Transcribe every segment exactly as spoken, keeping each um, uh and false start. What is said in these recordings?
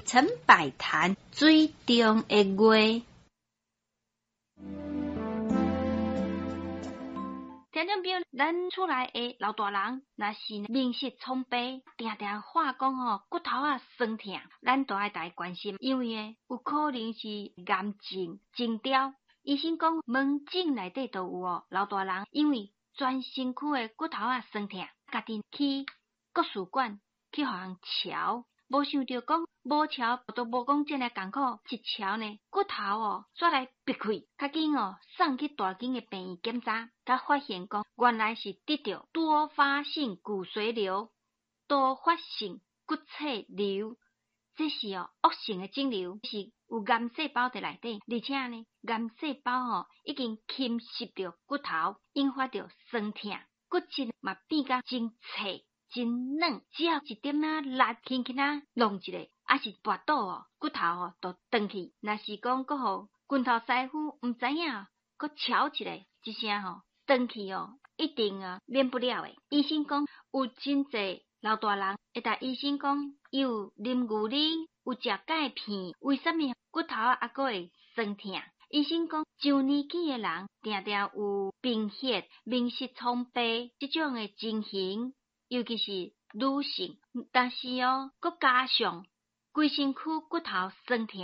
陳百潭水中的月。聽眾朋友，咱厝內的老大人，若是面色蒼白，定定話講吼骨頭仔酸疼，咱都愛共伊關心，因為呢有可能是癌症徵兆。醫生講門診內底都有哦，老大人因為全身軀的骨頭仔酸疼，家己去國術館去予人喬，無想著講無喬都無講遮爾艱苦，一喬呢骨頭哦煞來拔開，較緊哦送去大間的病院檢查，才發現講原來是得著多發性骨髓瘤、多發性骨髓瘤，這是哦惡性的腫瘤，是有癌細胞佇內底，而且呢癌細胞吼已經侵襲著骨頭，引發著酸疼，骨質嘛變甲真脆。真軟，只要一點仔力，輕輕仔弄一下，抑是跋倒哦，骨頭哦就斷去。若是講閣予拳頭師傅毋知影，閣敲一下，一聲吼斷去哦，一定啊免不了的。醫生講有真濟老大人會共醫生講，伊有啉牛奶，有食鈣片，為啥物骨頭猶閣會酸疼？醫生講，上年紀的人定定有貧血、面色蒼白這種的情形。尤其是女性，但是哦，閣加上規身軀骨頭酸疼，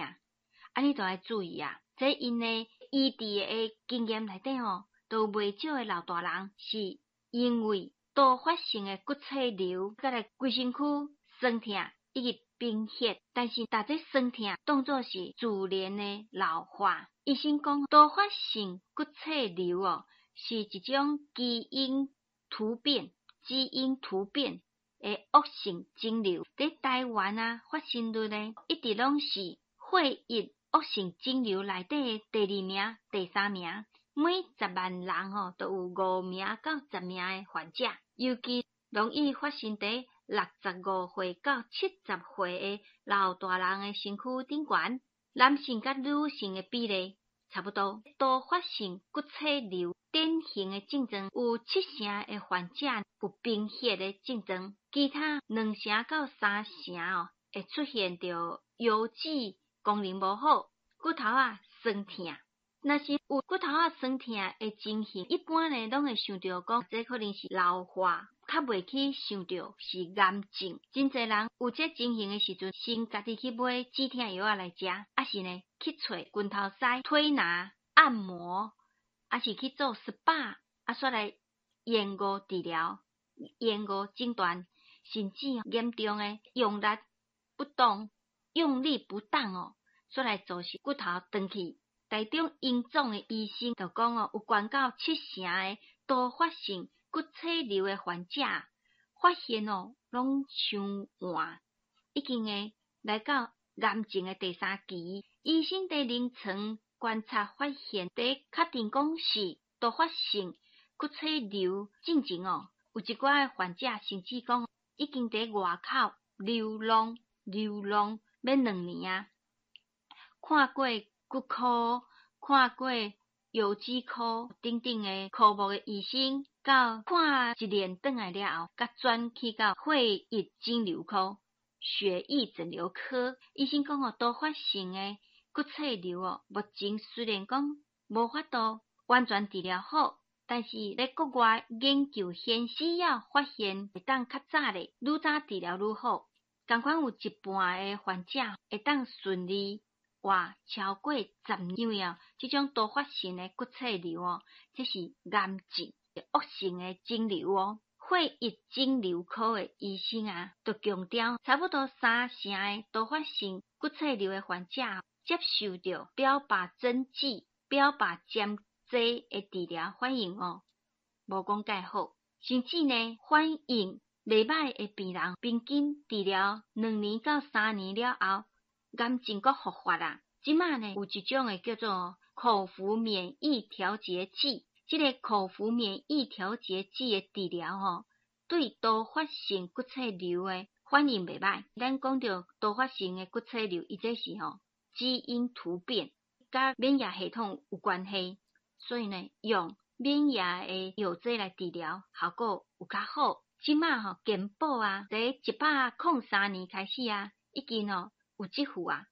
按呢就愛注意啊！這𪜶的醫治的經驗內底吼，都有袂少的老大人是因為多發性的骨髓瘤，佮來規身軀酸疼以及貧血，但是逐這酸疼當做是自然的老化。醫生講，多發性骨髓瘤哦，是一種基因突變。基因突變的惡性腫瘤，佇台灣啊，發生率呢，一直攏是血液惡性腫瘤內底的第二名、第三名。每十萬人吼，都有五名到十名的患者，尤其容易發生佇六十五歲到七十歲的老大人的身軀頂懸。男性佮女性的比例差不多。多發性骨髓瘤典型的症狀有七成的患者有貧血的症狀，其他兩成到三成哦會出現著腰子功能無好、骨頭仔酸疼。若是有骨頭仔酸疼的情形，一般呢攏會想著講，這可能是老化，較袂去想著是癌症。真濟人有這情形的時陣，先家己去買止疼藥仔來食，抑是呢去揣拳頭師推拿、按摩，抑是去做 S P A，啊，煞來延誤治療、延誤診斷，甚至嚴重的用力不當、用力不當哦，煞來造成骨頭斷去。台中榮總的醫生就講哦，有關到七成的多發性骨髓瘤的患者，發現哦，攏傷晚，已經會來到癌症的第三期。醫生佇臨床觀察發現，佇確定講是多發性骨髓瘤進前哦，有一寡的患者甚至講已經佇外口流浪流浪欲兩年啊，看過骨科、看過腰子科等等的科目的醫生，到看一年轉來了後，才轉去到血液腫瘤科、血液腫瘤科。醫生講哦，多發性的骨髓瘤哦，目前雖然講無法度完全治療好，但是咧國外研究顯示，只要發現會當較早咧，愈早治療愈好。仝款有一半的患者會當順利活超過十年，因為哦，這種多發性的骨髓瘤哦，這是癌症惡性的腫瘤哦。血液腫瘤科的醫生啊，就強調，差不多三成的多發性骨髓瘤的患者接受著標靶針劑、標靶針劑的治療反應哦，無講蓋好，甚至呢反應袂䆀的病人，平均治療兩年到三年了後，癌症閣復發啊！這馬呢有一種的叫做口服免疫調節劑，這個口服免疫調節劑的治療吼，對多發性骨髓瘤的反應袂䆀。咱講著多發性的骨髓瘤，伊這是吼基因突變，佮免疫系統有關係，所以呢用免疫的藥劑來治療，效果有較好。這馬吼健保啊，佇一百空三年開始啊，已經哦。有這副啊，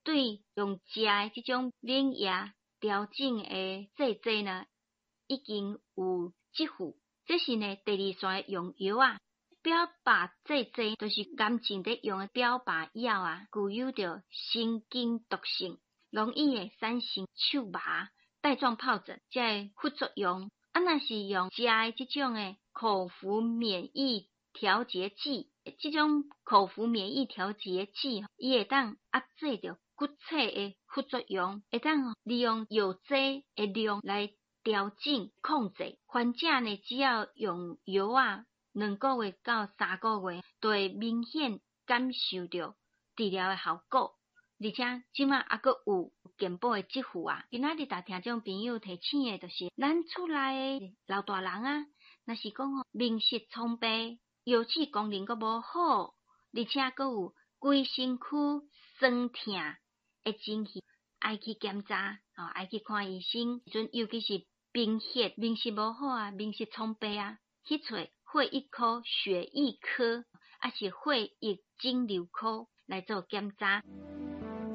對用食的這種免疫調整的製劑呢，已經有這副。這是呢第二線的用藥啊，標靶製劑就是癌症佇用的標靶藥啊，具有著神經毒性，容易會產生手麻、帶狀疱疹這个副作用。啊，若是用食的這種的口服免疫調節劑，這種口服免疫調節劑，伊會當壓制著骨刺的副作用，會當利用藥劑的量來調整控制。患者呢，只要用藥啊，兩個月到三個月，就會明顯感受著治療的效果。而且這馬猶閣有健保的給付啊！今仔日逐聽眾朋友提醒的，就是咱厝內的老大人啊，若是講吼面色蒼白、腰子功能閣無好，而且閣有規身軀痠疼的情形，愛去檢查，吼，愛去看醫生。陣尤其是貧血、面色無好啊，面色蒼白啊，去揣血液科、血液科，抑是血液腫瘤科來做檢查。